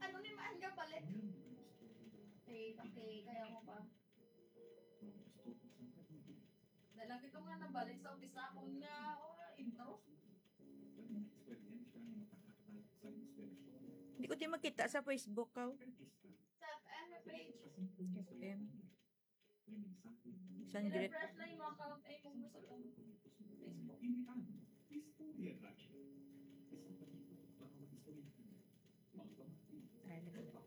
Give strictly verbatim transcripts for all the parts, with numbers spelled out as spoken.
Ano ni maan nga balik? Okay, okay, kaya mo pa. Nalagi ko nga nabalik sa umpisa akong nga, oh, intro. Hindi ko di makita sa Facebook ka. Sa, ano, page? F M. Saan dire? I-refresh lang yung account ay kung gusto ko. Facebook. Ay, nag-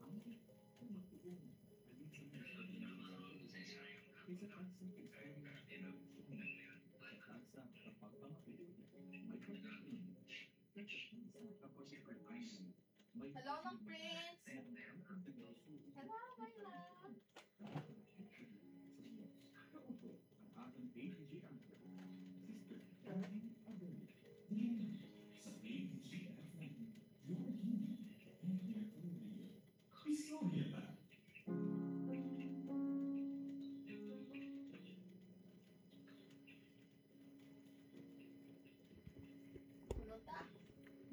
Hello, Mang Prince. Hello, my love.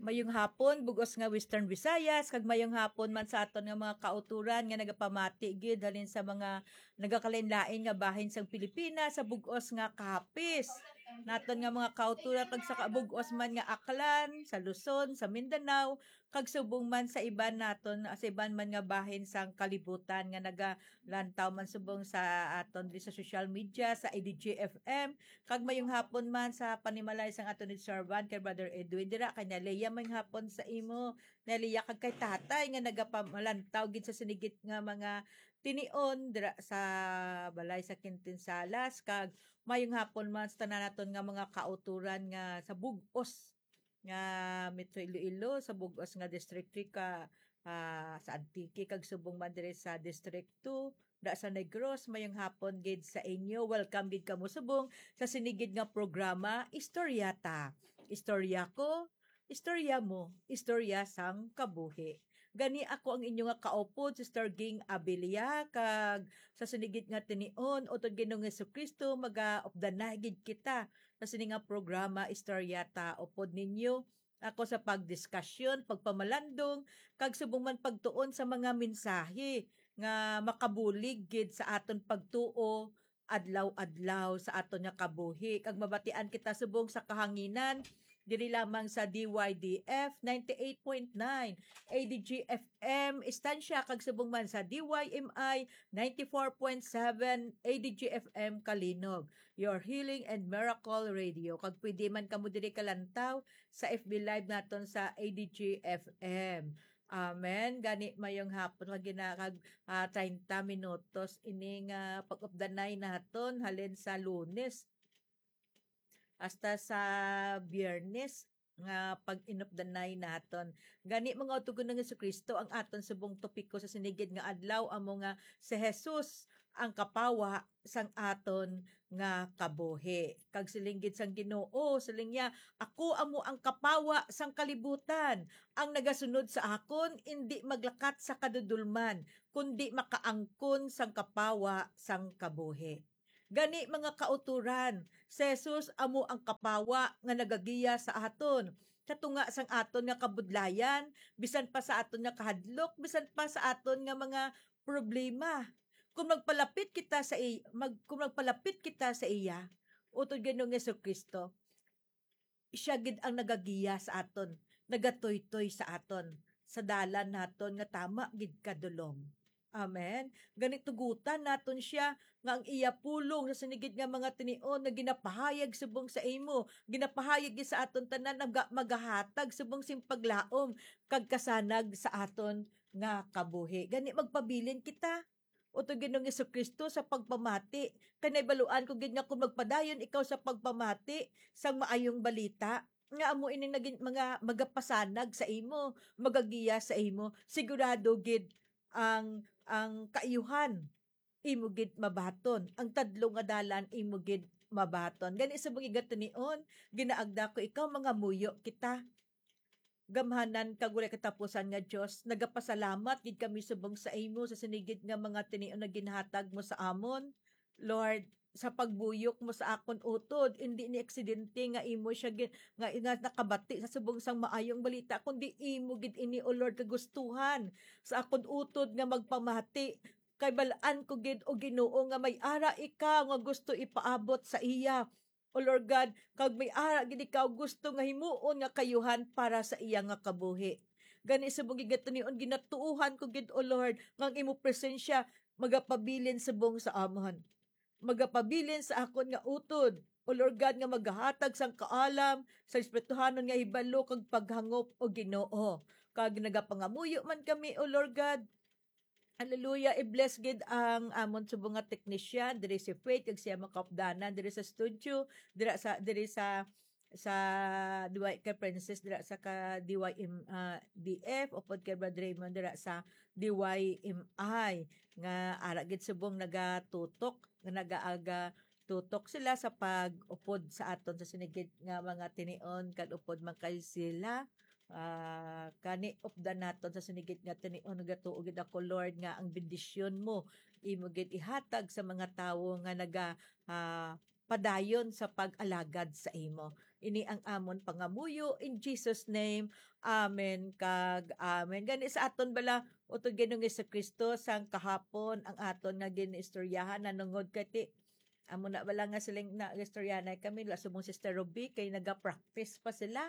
Mayong hapon, bug-os nga Western Visayas, kag mayong hapon man sa aton nga mga kauturan nga nagapamati gid halin sa mga nagakalain-lain nga bahin sang Pilipinas, sa bug-os nga Capiz. Naton nga mga kauturan kag sa kabug-os man nga Aklan, sa Luzon, sa Mindanao, kag subong man sa iban naton, sa iban man nga bahin sang kalibutan nga nagalantaw man subong sa aton diri sa social media, sa A D G F M, kag mayong hapon man sa panimalay sang aton observant kay Brother Edwin dira, kay Nelia, mayong hapon sa imo, Nelia, kag kay Tatay nga nagapamalantaw gid sa sinigit nga mga tinion dira sa balay sa Quintin Salas, kag mayong hapon man sa tanan naton nga mga kauturan nga sa bug-os nga Metro Iloilo, sa bug-os nga distrito ka, ah, sa Antique, kag subong man diri sa District two, da sa Negros, mayong hapon gid sa inyo. Welcome gid kamo subong sa sinigid nga programa, Istorya Ta. Istorya ko, istorya mo, istorya sang kabuhi. Gani ako ang inyo nga kaupod, Sister Ging Abilia, kag sa sinigid nga tinion, utod Ginoong Jesucristo, magaupdanay gid kita sa sini nga programa, Istorya Ta, upod ninyo ako sa pagdiskasyon, pagpamalandong, kag subong man pagtuon sa mga mensahe nga makabulig gid sa aton pagtuo adlaw-adlaw sa aton nga kabuhi. Kag mabatian kita subong sa kahanginan, diri lamang sa D Y D F ninety-eight point nine A D G F M Estancia, kag subong man sa D Y M I ninety-four point seven A D G F M Calinog, your healing and miracle radio. Kag pwede man kamo diri kalantaw sa F B Live naton sa A D G F M. Amen. Gani, mayong hapon nga gina-, kag, ah, treinta minutos ini nga pag-updanay naton halin sa Lunes hasta sa Biyernes nga pag-inupdanay naton. Gani, mga utugon ng Jesucristo, ang aton subong topiko sa sinigid nga adlaw amo nga si Jesus ang kapawa sang aton nga kabuhi. Kag siling gid sang Ginoo, siling niya, "Ako amo ang kapawa sang kalibutan. Ang nagasunod sa akon indi maglakat sa kadudolman, kundi makaangkon sang kapawa sang kabuhi." Gani, mga kauturan, si Jesus amo ang kapawa nga nagagiya sa aton sa tunga sang aton nga kabudlayan, bisan pa sa aton nga kahadlok, bisan pa sa aton nga mga problema. Kung magpalapit kita sa i-, mag-, kung magpalapit kita sa iya, utod Ginoong Jesucristo, siya gid ang nagagiya sa aton, nagatuytoy sa aton, sa dalan naton nga tama gid kadulom. Amen. Gani, tugutan naton siya nga ang iya pulong sa sinigid nga mga tinion nga ginapahayag subong sa imo, ginapahayag gid sa aton tanan, nga ga-, magahatag subong sing paglaom kag kasanag sa aton nga kabuhi. Gani, magpabilin kita, utod Ginoong Jesucristo, sa pagpamati. Kay nahibaluan ko gid nga kung magpadayon ikaw sa pagpamati sang maayong balita, nga amo ini nagin-, mga magapasanag sa imo, magagiya sa imo, sigurado gid ang, ang kaayuhan imo gid mabaton, ang tadlong nga dalan imo gid mabaton. Gani, subong nga tinion, ginaagda ko ikaw, mangamuyo kita. Gamhanan kag walay katapusan nga Dios, nagapasalamat gid kami subong sa imo sa sinigid nga mga tinion nga ginhatag mo sa amon. Lord, sa pagbuyok mo sa akon utod, indi ni aksidente nga imo siya gi-, nga, nga nakabati sa subong sang maayong balita, kundi imo gid ini, O Lord, kagustuhan sa akon utod nga magpamati. Kay bal-an ko gid, O Ginoo, nga may ara ikaw nga gusto ipaabot sa iya. O Lord God, kag may ara gid ikaw gusto nga himuon nga kayuhan para sa iya nga kabuhi. Gani subong gid nga tinion, ginatuohan ko gid, O Lord, nga ang imo presensya magapabilin subong sa amon, magapabilin sa akon nga utod, O Lord God, nga magahatag sang kaalam, sa espirituhanon nga hibalo kag paghangop, O Ginoo. Kag nagapangamuyo man kami, O Lord God. Hallelujah. I-bless gid ang amon subong nga technician, diri si Faith, kag siya makaupdanan diri sa studio, dira sa, diri sa, sa D Y, kay Princess dira sa ka D Y M, ah, D F, upod kay Brother Raymond dira sa D Y M I, nga ara gid subong nagatutok, nga nagaaga tutok sila sa pag-upod sa aton sa sinigit nga mga tinion, kag upod man kay sila. Ah, kani updan naton sa sinigit nga tinion, nagatuo gid ako, Lord, nga ang bendisyon mo imo gid ihatag sa mga tawo nga naga, ah, padayon sa pag-alagad sa imo. Ini ang amon pangamuyo in Jesus' name. Amen kag amen. Gani sa aton bala, utod Ginoong Jesu-Cristo, sang kahapon ang aton nga ginaistoryahan nanungod kay ti, amo na bala nga siling na istoryahanay kami, la subong Sister Ruby, kay naga-practice pa sila.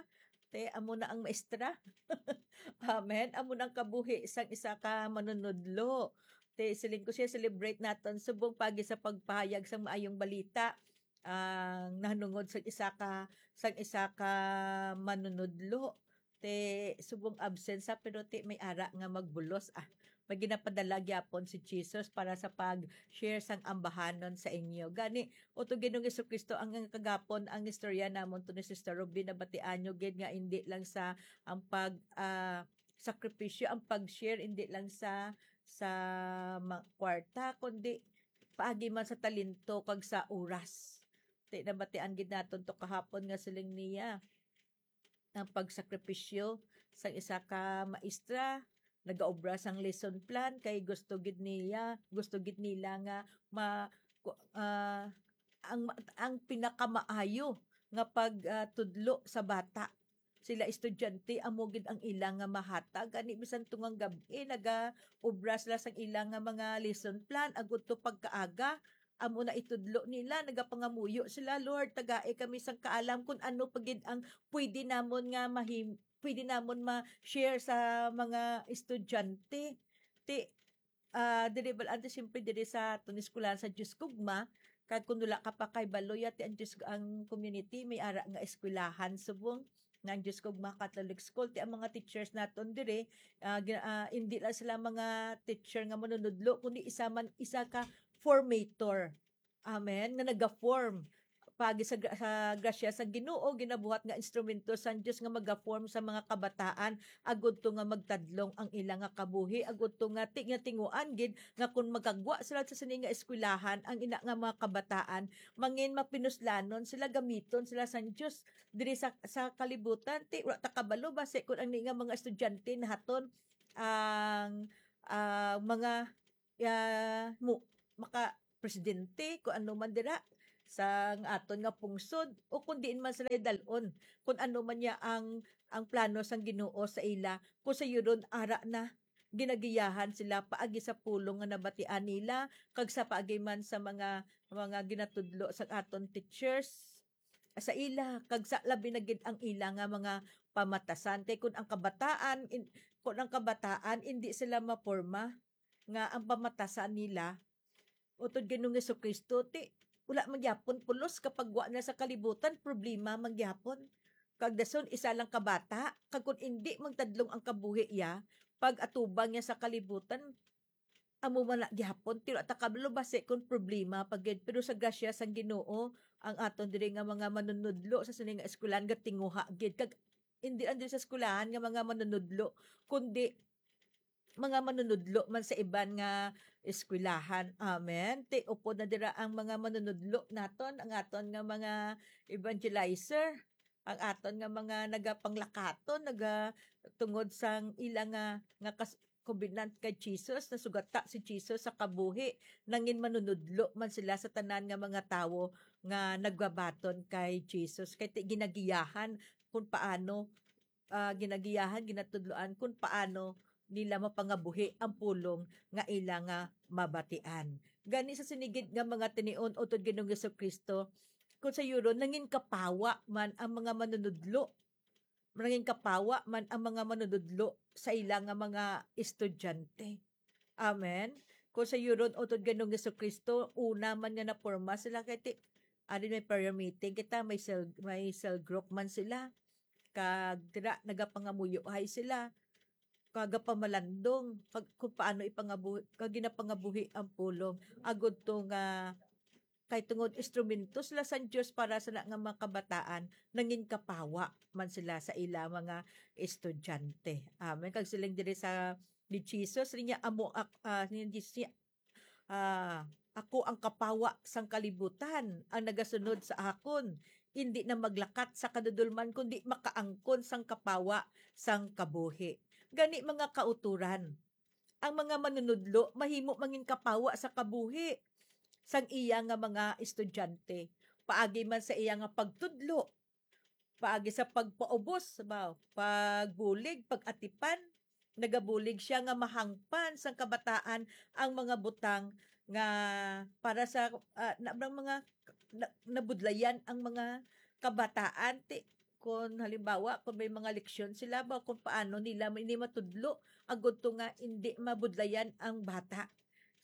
Te, amo na ang maestra. Amen. Amo na ang kabuhi sang isa ka manunudlo. Te, siling ko siya, celebrate naton subong pagi sa pagpahayag sang maayong balita, ang nahanungod sang isa ka, sang isa ka manunudlo. Te, subong absent sa, pero te, may ara nga magbulos, ah. May ginapadala gyapon si Jesus para sa pag-share sang ambahanon sa inyo. Gani, utod Ginoong Jesu-Cristo, ang, ang kagapon, ang istorya namon to ni Sister Ruby, nabatian nyo gid nga hindi lang sa ang pag, ah, sakripisyo, ang pag-share, hindi lang sa, sa ma-, kwarta, kundi paagi man sa talento kag sa oras. Ti, nabatian gid naton to kahapon nga siling niya, ang pagsakripisyo sang isa ka maestra, nagaobra sang lesson plan kay gusto gid niya, gusto gid nila nga ma-, ku-, ah, ang ma-, ang pinakamaayo nga pag, ah, tudlo sa bata. Sila estudyante, amo gid ang ila nga mahatag. Gani, bisan tungang gab-i, nagaobra sila sang ila nga mga lesson plan, agud to pagkaaga, amo na itudlo nila, nagapangamuyo sila, "Lord, tagai kami sang kaalam kung ano pa gid ang pwede namon nga mahim-, pwede namon ma-share sa mga estudyante." Ti, ah, diri bal-, ante, siyempre, diri sa aton eskwelahan sa Diyos Kugma, kag kung wala ka pa kahibalo, yati ang Diyos, ang community, may ara nga eskwelahan subong nga ang Diyos Kugma Catholic School. Ti ang mga teachers naton diri, ah, gina-, ah, hindi lang sila mga teacher nga manunudlo, kundi isa man, isa ka formator. Amen. Nga naga-form. Pagi sa gra-, sa grasya sa Ginoo, ginabuhat nga instrumento sang Dios nga maga-form sa mga kabataan, agud to nga magtadlong ang ila nga kabuhi, agud to nga ti-, nga tinguan gid nga kon magkagwa sila sa sini nga eskwelahan, ang ila nga mga kabataan, mangin mapinuslanon sila, gamiton sila sang Dios diri sa, sa kalibutan. Ti, wala ta kabalo basi kon ang ni nga mga estudyante nahaton ang, ah, mga, ah, mo, maka presidente, kung ano man dira, sa aton nga pungsod, o kung diin man sila dalon, kung ano man niya ang, ang plano sang Ginoo sa ila, kung sayudon ara na ginagiyahan sila paagi sa pulong nga nabatian nila, kag sa paagi man sa mga, mga ginatudlo sa aton teachers sa ila, kag sa labi na gid ang ila nga mga pamatasan. Kay kun ang kabataan, in-, kun ang kabataan, indi sila maporma nga ang pamatasan nila, utod Ginoong Jesu-Cristo, ti, wala man gyapon pulos kapag wa na sa kalibutan, problema man gyapon. Kag dason, isa lang ka bata, kag kun indi magtadlong ang kabuhi iya, pag atubang niya sa kalibutan, amo man na gihapon, ti wala ta kabalo basi kun problema pa gid. Pero sa grasya sang Ginoo, ang aton diri nga mga manunudlo sa sini nga eskwelahan gatinguha gid. Kag indi lang diri sa eskwelahan nga mga manunudlo, kundi mga manunudlo man sa iban nga eskwelahan. Amen. Ti upod na dira ang mga manunudlo naton, ang aton nga mga evangelizer, ang aton nga mga nagapanglakaton, naga-, tungod sang ila nga, nga kas-, covenant kay Jesus, nasugata si Jesus sa kabuhi, nangin manunudlo man sila sa tanan nga mga tawo nga nagbabaton kay Jesus. Kay ti-, ginagiyahan kung paano, ah, ginagiyahan, ginatudloan kung paano nila mapangabuhi ang pulong nga ila nga mabatian. Gani sa sinigid nga mga tinion utod Ginoong Jesu-Cristo, kung sayuron, nangin kapawa man ang mga manunudlo, nangin kapawa man ang mga manunudlo sa ila nga mga estudyante. Amen. Kung sayuron, utod Ginoong Jesu-Cristo, una man nga naporma sila kay ti-, ari may prayer meeting kita, may cell, may cell group man sila. Kag dira nagapangamuyohay sila, kagapamalandong pag, kung paano ipangabuhi, kag ginapangabuhi ang pulong, agud to nga kay tungod instrumento sila sang Dios para sa na nga mga kabataan, nangin kapawa man sila sa ila mga estudyante. Amen. Kag siling diri sa ni Jesus, niya amo ak-, ah, ni Jesus, ah, "Ako ang kapawa sang kalibutan, ang nagasunod sa akon, indi na maglakat sa kadudolman, kundi makaangkon sang kapawa sang kabuhi." Gani, mga kautoran, ang mga manunudlo mahimo mangin kapawa sa kabuhi sang iya nga mga estudyante, paagi man sa iya nga pagtudlo, paagi sa pagpaubos, ba, pagbulig, pag-atipan. Nagabulig sia nga mahangpan sang kabataan ang mga butang nga para sa, ah, na, mga na, nabudlayan ang mga kabataan. Ti, kung halimbawa, kung may mga leksyon sila ba, kung paano nila ini matudlo, agud to nga hindi mabudlayan ang bata.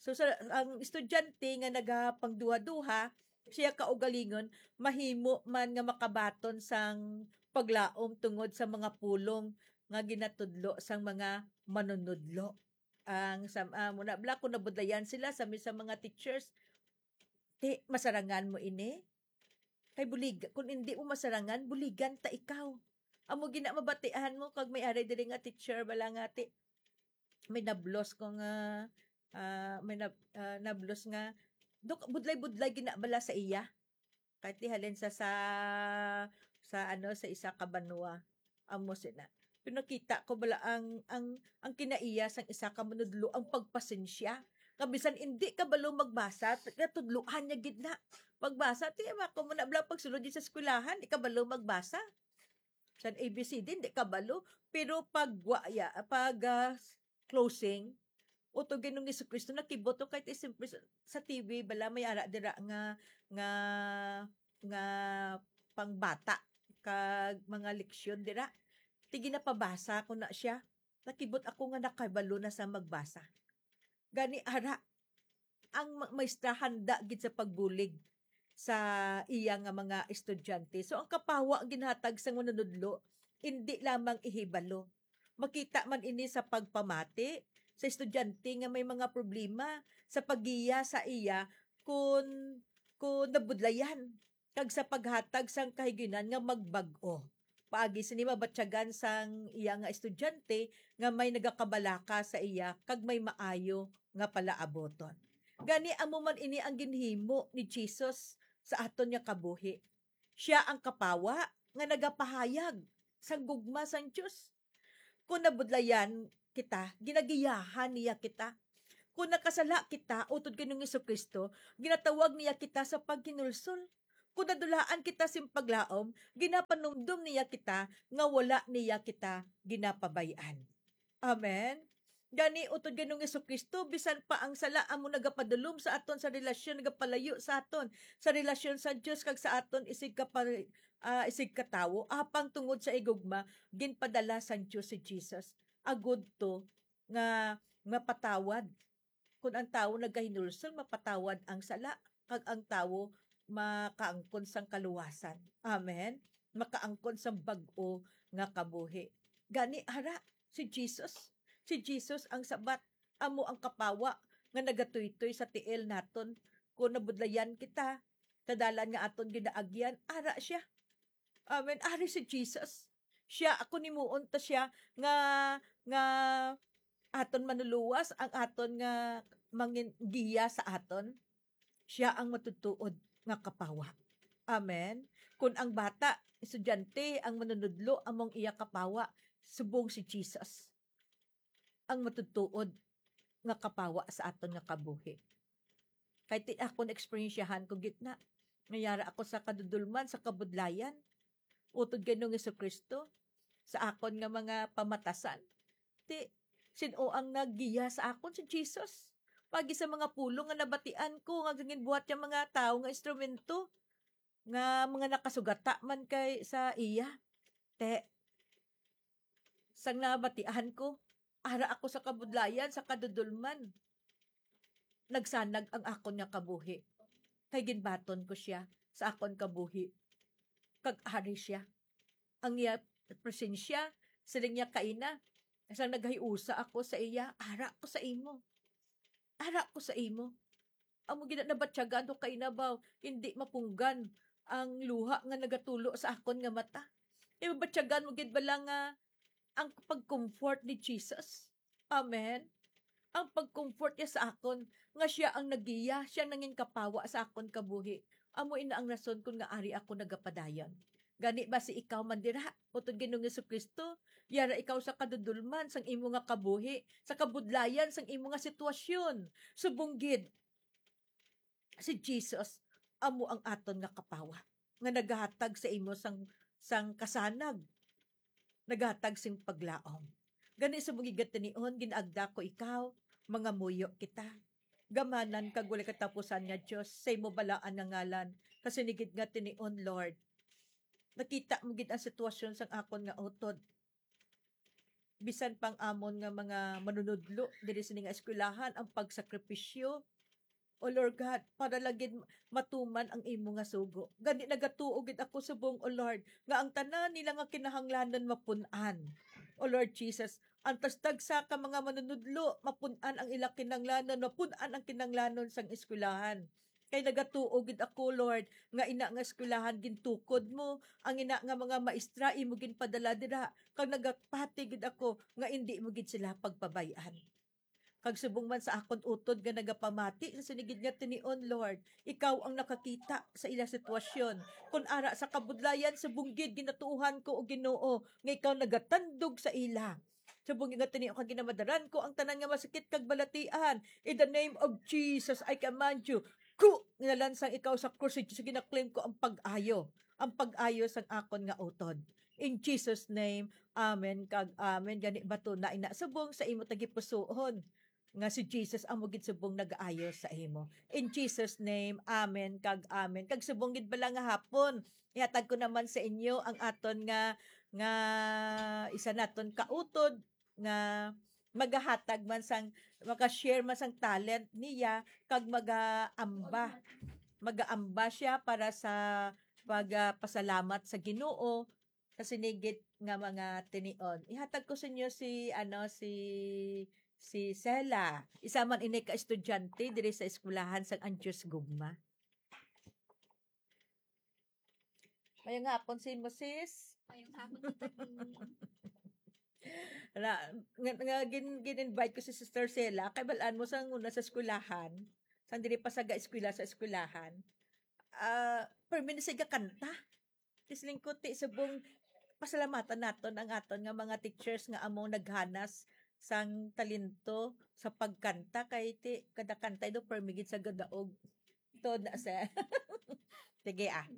So, sa, ang estudyante nga nagapangduha-duha, siya kaugalingon, mahimo man nga makabaton sang paglaom tungod sa mga pulong nga ginatudlo sang mga manunudlo. Ang sam-, ah, muna bala kung nabudlayan sila sa mi-, sa mga teachers, ti, masarangan mo ini? Kay bulig, kung hindi mo masarangan, buligan ta ikaw. Amo gina mabatian mo kag may ari diri nga teacher bala nga ti, may nablos ko nga, ah, may nab-, ah, nablos nga, dok, budlay-budlay gina bala sa iya. Kahit di halin sa, sa, sa ano, sa isa ka banwa. Amo sina. Pero nakita ko bala ang, ang, ang kinaiya sang isa ka manudlo, ang pagpasensya. Nga bisan hindi kabalo magbasa, natudloan niya gid na. Magbasa, ti, ako mo na bala pagsulod sa eskwelahan, di kabalo magbasa. San A B C D, di kabalo. Pero pag wa-, ya-, pag, ah, closing, utod Ginoong Jesu-Cristo, nakibot to kahit simple sa, sa T V, bala may ara dira nga, nga, nga pangbata, kag mga leksyon dira. Ti ginapabasa ko na siya. Nakibot ako nga nakabalo na sa magbasa. Gani, ara, ang ma-, maestra handa gid sa pagbulig sa iya nga mga estudyante. So, ang kapawa ginhatag sa manunudlo, indi lamang ihibalo. Makita man ini sa pagpamati sa estudyante nga may mga problema, sa paggiya sa iya kun, kun nabudlayan, kag sa paghatag sang kahiginan nga magbag-o. Paagi sini mabatyagan sang iya nga estudyante nga may nagakabalaka sa iya kag may maayo nga palaaboton. Gani, amo man ini ang ginhimo ni Jesus sa aton nga kabuhi. Sia ang kapawa nga nagapahayag sang gugma sang Dios. Kung nabudlayan kita, ginagiyahan niya kita. Kung nakasala kita, utod kay Ginoong Jesu-Cristo, ginatawag niya kita sa paghinulsol. Kung nadulaan kita sing paglaom, ginapanumdom niya kita nga wala niya kita ginapabay-an. Amen. Gani, utod kay Ginoong Jesu-Cristo, bisan pa ang sala amo nagapadulom sa aton sa relasyon, nagapalayo sa aton sa relasyon sa Dios kag sa aton isig ka pa, ah, isig ka tawo, apang tungod sa igugma, ginpadala sang Dios si Jesus, agud to nga mapatawad. Kun ang tawo nagahinulsol, mapatawad ang sala, kag ang tawo makaangkon sang kaluwasan. Amen. Makaangkon sang bag-o nga kabuhi. Gani, ara, si Jesus, si Jesus ang sabat, amo ang kapawa nga nagatuytoy sa tiil naton. Kun nabudlayan kita, sa dalan nga aton ginaagyan, ara siya. Amen. Ari si Jesus. Siya, ako nimuon ta siya nga, nga aton manuluwas, ang aton nga mangin-, giya sa aton. Siya ang matutuod nga kapawa. Amen. Kung ang bata, estudyante, ang manunudlo, among iya kapawa, subong si Jesus. ang matutuod nga kapawa sa aton nga kabuhi. Kay ti akon eksperyensyahan ko gid na, nga yara ako sa kadudulman, sa kabudlayan, utod kay Ginoong Jesu-Cristo, sa akon nga mga pamatasan. Ti, sin-o ang naggiya sa akon? Si Jesus. Pagi sa mga pulong nga nabatian ko, nga ginbuhat nga mga tawo nga instrumento, nga mga nakasugata man kay sa iya. Te, sang nabatian ko, ara ako sa kabudlayan, sa kadudulman. Nagsanag ang akon nga kabuhi. Kay ginbaton ko sia sa akon kabuhi. Kag ari sia. Ang iya presensya, siling niya kaina, sang naghiusa ako sa iya, ara ko sa imo. Ara ko sa imo. Amo gid na nabatyagan ko kaina ba, hindi mapunggan ang luha nga nagatulo sa akon nga mata. Ibabatyagan mo gid bala nga ang pag-comfort ni Jesus. Amen. Ang pag-comfort niya sa akon, nga siya ang nagiya, siya nangin kapawa sa akon kabuhi. Amo ina ang rason kun nga ari ako nagapadayon. Gani ba si ikaw man dira, utod Ginoong Jesu-Cristo, yara ikaw sa kadudulman sang imo nga kabuhi, sa kabudlayan sang imo nga sitwasyon. Subong gid, si Jesus amo ang aton nga kapawa, nga nagahatag sa imo sang, sang kasanag, nagahatag sing paglaom. Gani sa mga gatinion, ginaagda ko ikaw, mangamuyo kita. Gamanan kag walay katapusan nga Dios, sa imo balaan nga ngalan, kasinigid nga tinion, Lord. Nakita mo gid ang sitwasyon sang akon nga utod. Bisan pang amon nga mga manunudlo diri sini nga eskwelahan, ang pagsakripisyo, O Lord God, para lang gid matuman ang imo nga sugo. Gani nagatuo gid ako subong, O Lord, nga ang tanan nila nga kinahanglanon mapun-an. O Lord Jesus, ang tagsa-tagsa ka mga manunudlo, mapun-an ang ila kinahanglanon, mapun-an ang kinahanglanon sang eskwelahan. Kay nagatuo gid ako, Lord, nga ina nga eskwelahan gintukod mo, ang ina nga mga maestra imo ginpadala dira, kag nagapati gid ako nga indi mo gid sila pagpabay-an. Kag subong man sa akon utod nga nagapamati sa sinigid nga tinion, Lord, ikaw ang nakakita sa ila sitwasyon. Kun ara sa kabudlayan, subong gid ginatuohan ko, O Ginoo, nga ikaw nagatandog sa ila. Subong nga tinion kag ginamadaran ko ang tanan nga masakit kag balatian. In the name of Jesus, I command you, ku, nalansang ikaw sa krus, sa ginaklaim ko ang pag-ayo, ang pag-ayo sang akon nga utod. In Jesus' name, amen kag amen. Gani bato na ina subong sa imo tagipusoon nga si Jesus amo gid subong nagaayo sa imo. In Jesus' name, amen kag amen. Kag subong gid bala nga hapon, ihatag ko naman sa inyo ang aton nga, nga isa naton kautod nga magahatag man sang, maka-share man sang talent niya kag magaamba. Magaamba siya para sa pagpasalamat sa Ginoo sa sinigid nga mga tinion. Ihatag ko sa inyo si, ano, si, si Sela. Isa man ini ka estudyante diri sa eskwelahan sang Antios Gugma. Mayong hapon sa imo, sis. Mayong hapon, Tita Kim. Ala, nga, nga gin-, gin-invite ko si Sister Sela, kay bal-an mo sang una sa eskwelahan, sang diri pa sa ga-eskwela sa eskwelahan. Ah, permi na siya gakanta. Ti siling ko, ti subong pasalamatan naton ang aton nga mga teachers nga amo naghanas sang talento sa pagkanta, kay ti kada kanta daw permi gid sa gadaog. Tuod na sa. Sige, ah.